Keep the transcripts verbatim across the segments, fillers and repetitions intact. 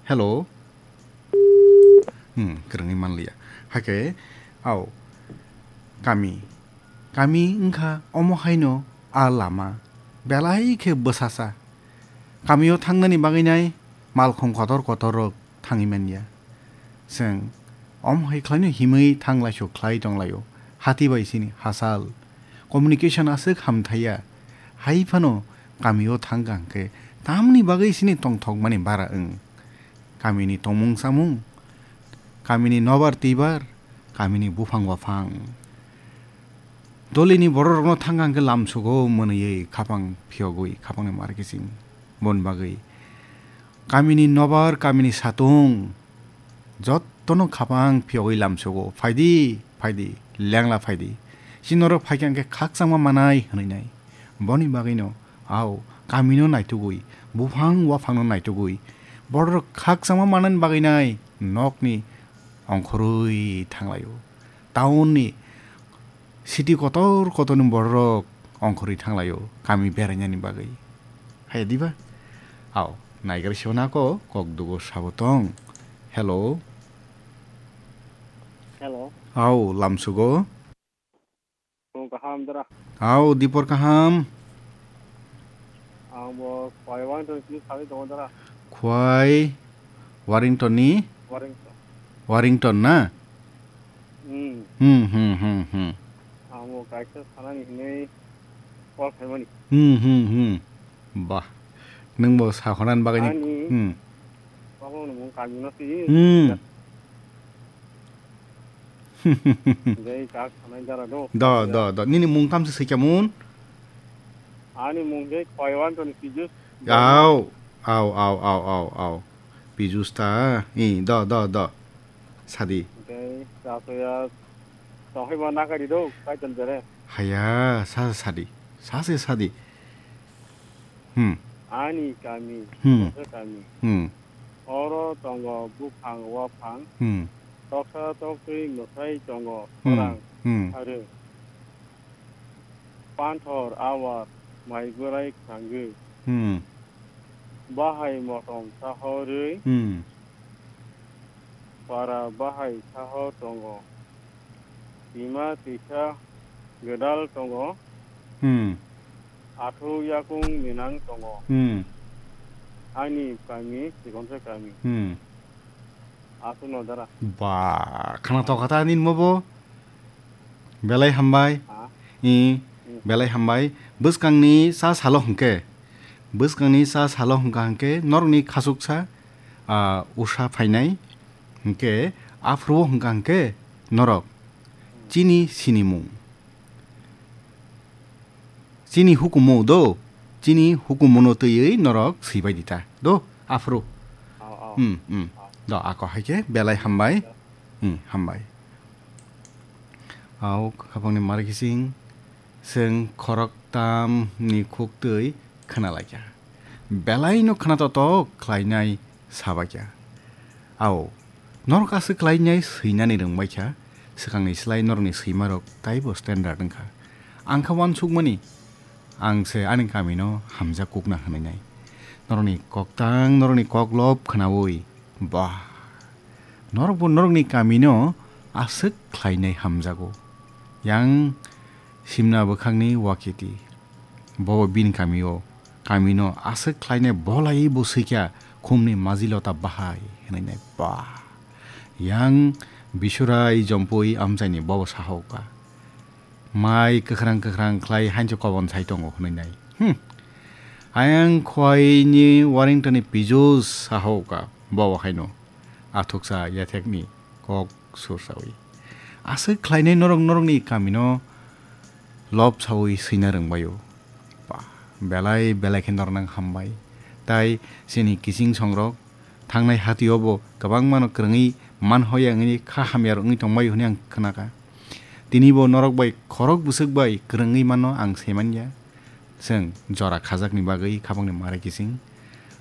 Hello. Hmm, kwrwngwi manliya. Hakhe, au, kami. Kami wngkha omo haino a lama. Belai khe bwsasa. Kamio thangnani bagwi nai malkhung kotor kotor rok thangwi manya. Chwng omo hai khlaino himwi thanglaisuk khlai tonglaio. Hati bai sini hachal. Communication aswk hamthaiya. Hai phano kamio thangkha hwnkhe tamni bagwi sini tongthokmani bara wng. Kamini tongmung chamung, kamini nobar twibar, kamini buphang waphang. Dolini bororokno thangkha hwnkhe lamsugo mwnwiwi khapang phiyogwi khapangni mar kiching. Boni bagwi kamini nobar, kamini satung jottono khapang phiyogwi lamsugo. Phaidi, phaidi, lengla phaidi. Chini norok phaikha hwnkhe khakchangma manai hwnwi nai. Boni bagwino, au, kamino naitugwi, buphang waphangno naitugwi, bororok khakchangma manani bagwi nai nokni ongkhorwi thanglaio. Town ni city kotor kotorni bororok ongkhorwi thanglaio, kami berainani bagwi. Hai diba? Au, naigar siyo nako, kok dugo sabo tong. Hello. Hello. Au, lamsugo. Tong kaham dara. Au, dipor kaham. Ang bo Khwai Wangtoni simi salai tongo dara. Khwai Warrington ni? Warrington. Warrington na? Hmm. Hmm, hmm, hmm, hmm. Ang bo kaisa sanani hinwi call khaimani. Hmm, hmm, hmm. Bah. Nwng bo sakhonan bagwi ni. Ani. Hmm. Babo nwng kami no si. Hmm. Dei kak sanai dara do. Do, do, do. Nini mung kam se sikya mun? Ani mung dei Khwai Wangtoni Pijus. Au, au, au, au, au, au. Pijus ta. I, do, do, do. Sadi. Dei, sa soya. Sohai ma nakari do, kaitan jare. Haya, sa sadi. Sa se sadi. Hmm. Ani kami, Hmm. Toksa kami. Hmm. Oro tongo buphang waphang. Hmm. Toksa toktwi mwsai tongo Hmm. khorang Hmm. harwi. Panthor awar mai bwrai khangwi. Hmm. Bahai motom sahorwi. Hmm. Para bahai saho tongo. Tima tisa gwdal tongo. Hmm. Athuk yakung minang tongo. Hmm. Ani kami, Sikonsa kami. Hmm. Aswkno dara. Ba, khana tokha ta nini mo bo? Belai hambai. Ha? I, Hmm. Belai hambai. Bwskangni sa salo hwnkhe. Bwskangni sa salo hwnkha hwnkhe norokni khasuksa, ah, usa phainai. Hwnkhe aphuru hwnkha hwnkhe norok chini sinimung. Chini hukumu do, chini hukumuno twiwi norok swibai di ta. Do, aphuru. Oh, oh. Hmm, hmm. Oh. Do, ako hai khe belai hambai. Hmm, hambai. Au, khapangni mar kising, chwng khoroktam ni khuktwi khna laikha. Belai no khna totok khlainai sabaikha. Au, norok aswk khlainai swinani rwngbaikha, swkangni slai norokni swimarok taibo standard wngkha. Ang kha uansukmani, ang se ani kamino hamjak kukna hwnwi nai. Norokni koktang, norokni koklop khnaui, bah, norokbo norokni kamino aswk khlainai hamjago. Yang simna bwkhakni wakiti. Bo bini kamio, kamino aswk khlainai bolai bo swikha khumni majilota bahai hwnwi nai ba. Yang bisurai jompui amchaini bobo sahoka. Mai kwkhrang kwkhrang khlai hancho kobon sai tongo hwnwi nai. Hmm. Ayang khwaini Warrington ni Pijus sahoka bobo haino. Athuksa yathekni kok sursawi. Aswk khlainai norok norokni kamino lob sawi swina rwngbaio. Ba, belai belai khe nornang hambai. Tai chini kiching songrok thangnai hatio bo kwbangmano kwrwngwi manhoya wngwi kha hamya rok wngwi tongbaio hwnwi ang khnakha. Tinibo norok bai khorok bwswk bai kwrwngwi mano ang saimanya. Chwng jora khajakni bagwi khapangni mare kiching.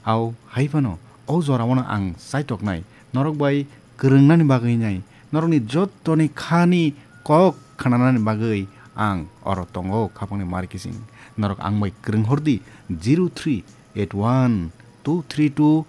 Au hai phano o joraono ang chaitoknai norok bai kwrwngnani bagwi nai norokni jottoni khani kok khnanani bagwi ang oro tongo khapangni mare kiching. Norok ang bai kwrwng hordi zero three eight one two three two